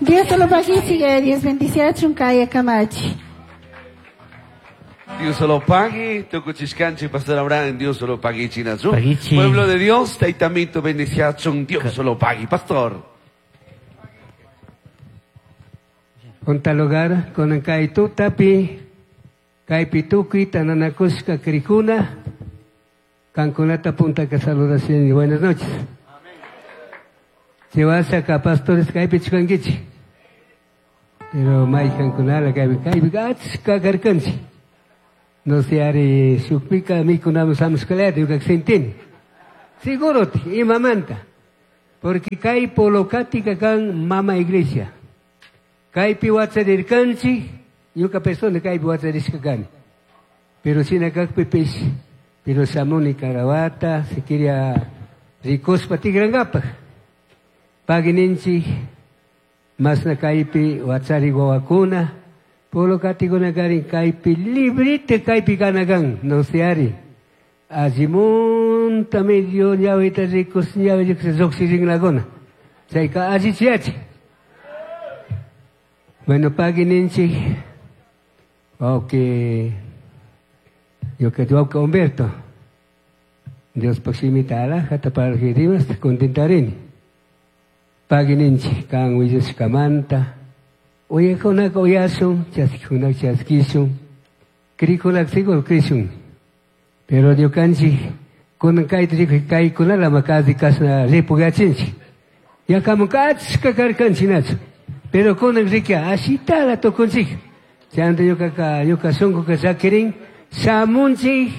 Dios solo pagichi, Dios bendiciachun kaya kamachi. Dios solo pague, tukuchishkanchik, Pastor Abraham, Dios solo pague, chinachu. Pagichi. Pueblo de Dios, taitamito bendiciachun, Dios solo pague, Pastor. Junta lugar con kay tutapi, kay pituki, tananakushka krikuna, kankunata punta que saludación y buenas noches. Chiwasha ka pastores kaypi chukankichik. Pero mayqankunala kaypi kaypi achka karkanchik. No sé, ari shukpika mikunamun samushkalata ñuqaka sentini. Seguro imamanta. Porque kay Polocatica kan mama iglesia. Kaypi wacharirkanchik, ñuka persona kaypi wacharishka kani. Pero shina kakpipish, pero shamuni Caravata, si quería rikuspa tikrankapaq. Pagininchik, masna kaypi wachari wawakuna, Polocaticuna karin kaypi librite kaypi kanakan, no sé, ari. Allimunta medio ñawita rikus, ñawi rikus, lluqshirinlakuna. Chayka allichiyachi. Bueno, pagininchik, wawqi, ñuka wawqi Humberto, Diospaq shimita alajata parajirimas contentarini. Pagininchik kan willashkamanta, uyakunaka uyashun, chaskikunaka chaskishun, krikunaka seguro krishun. Pero ñukanchik kunan kayta rikuy kaykunala ma casi kashna ripugachinchik. Yakamunka achka karkanchik nachu. Pero kunan rikia ashitala tukunchik. Chayanta ñukaka, ñuka shunkuka llakirin, shamunchik.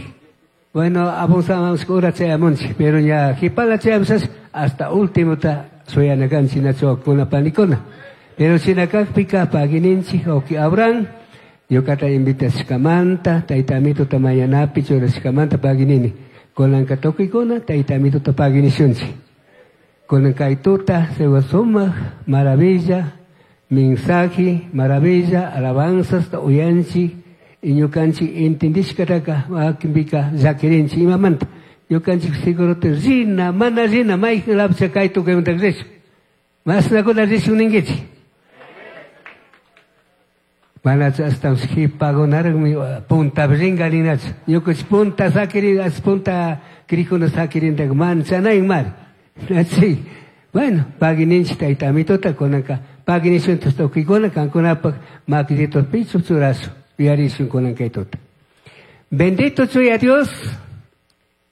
Bueno, avanzamos ura chayamunchik, pero ya jipala chayamusas hasta último ta suyanakanchik nachu kuna panikuna. Pero shinakakpika pagininchik oki Abraham, ñukata invitashkamanta, tayta amituta mañanapi churashkamanta paginini. Kunanka tukuykuna tayta amituta paginishunchik. Kunan kay tuta sewa sumaq maravilla, mensaje, maravilla, alabanzas ta uyanchik, y ñukanchik entendishkataka wakinpika llakirinchik imamanta. Ñukanchik seguro te rina, mana rina, mayqin lapcha kay tukuymanta rishun. Masnakuna rishun ninkichik. Manachu hasta jipakunaraqmi punta rinka ninachu. Ñukanchik punta sakirin, as punta krikuna sakirintaqa manchanayman mari. Así. Bueno, pagininchik tayta amituta kunanka paginishunta tukuykuna kankunapaq makillito pichu churasu uyarishun kunan kay tuta. Bendito chuya Dios,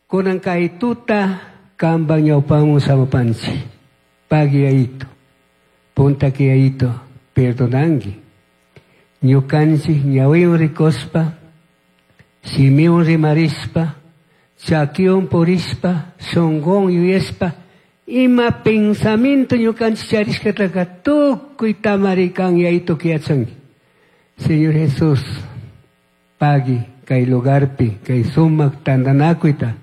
kunan kay tuta kanpa ñawpamun shamupanchik. Pagiayito, punta kiayito, perdonanki. Ñukanchik ñawiwan rikuspa, shimiwan rimarishpa, chakiwan purishpa, shunquwan yuyashpa, ima pensamiento ñukanchik charishkataka tukuy tamari kan yayito kiyachanki. Señor Jesús, pagui kay lugarpi, kay sumak tantanakuyta,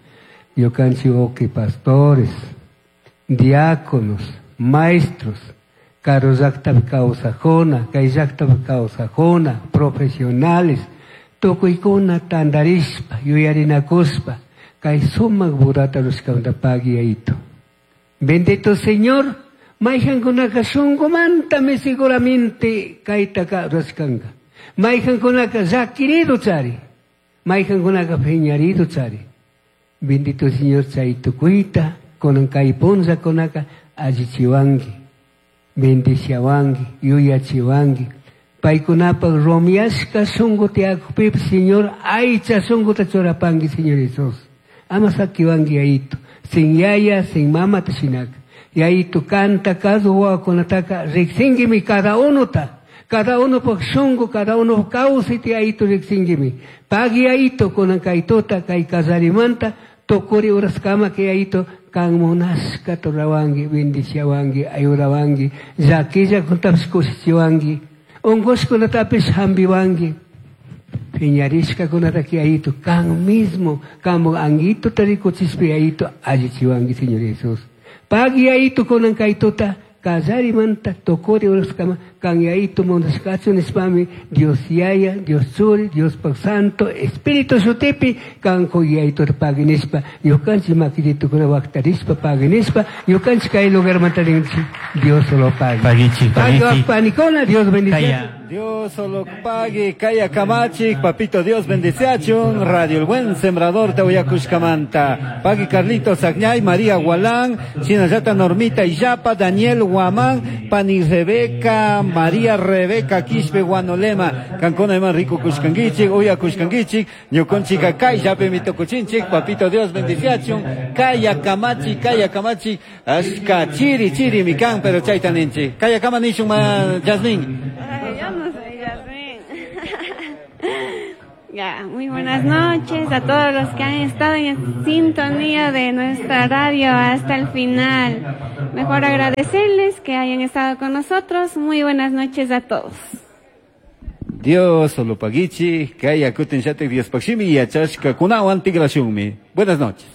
ñukanchik wawqi pastores, diáconos, maestros, karu llaqtapi kawsaqkuna, kay llaqtapi kawsaqkuna, profesionales, tukuykuna tantarishpa, yuyarinakuspa, kay sumak bodata rushkamanta pagui yayito. Bendito Señor, mayqankunaka shunqumantami seguramente kaytaka rurashkanka. Mayqankunaka llakirido chari, mayqankunaka phiñarido chari. Bendito Señor, chay tukuyta, kunan kay punllakunaka allichiwanki, bendiciawanki, yuyachiwanki. Paykunapaq rumiyashka shunqu tiyakupipis, Señor, aycha shunquta churapanki, Señor Jesús. Ama sakiwanki yayito, sin yaya, sin mama shinaka. Yayito kanta kasu wawakunataka riqsinkimi cada unuta. Cada uno por shungu, cada uno por kawsayta yayito riqsinkimi. Pagui yayito kunan kay tuta, kay kallarimanta, tukuri uraskama kay yayito kan munashka turawanki, bendiciawanki, ayudawanki, llakillakunatapis kushichiwanki, unqushkunatapis hampiwanki. Phiñarishkakunata yayito kan mismo, kanpuk anguituta rikuchishpa yayito allichiwanki, Señor Jesús. Pagui yayito kunan kay tuta, Kallarimanta tukuri uraskama kan yayito munashkachu nishpami Dios Yaya, Dios Churi, Dios Santo, Espíritu shutipi kan yayito pagui nishpa ñukanchik makillitukuna waktarishpa pagui nishpa ñukanchik kay lugarmanta rinchik Dios solo pagui. Paguichi, paguichi. Panikuna, Dios bendice. Dios solo pague, Kaya Kamachi, Papito Dios bendeciachun, Radio El Buen Sembrador Tahuyacushcamanta, Pagui Carlitos Agñay, María Gualán, Chinayata Normita Illapa, Daniel Guamán, Pani Rebeca, María Rebeca Quispe Guanolema, Cancona Eman Rico Cushcanguichic, Uya Cushcanguichic, Ñuconchica Kay, Yape Mitocuchinchic, Papito Dios bendeciachun, Kaya Kamachi, Kaya Kamachi, Ashka Chiri Chiri Mikan, pero Chaita Ninchi, Kaya Kamanishun ma Yasmín. Ay, yo no sé, Yasmín. Ya, muy buenas noches a todos los que han estado en sintonía de nuestra radio hasta el final. Mejor agradecerles que hayan estado con nosotros. Muy buenas noches a todos. Dios solo paguichi, Kaya Kutin Shatek Dios Pakshimi, Yachashka Kunawan Tigrashunmi. Buenas noches.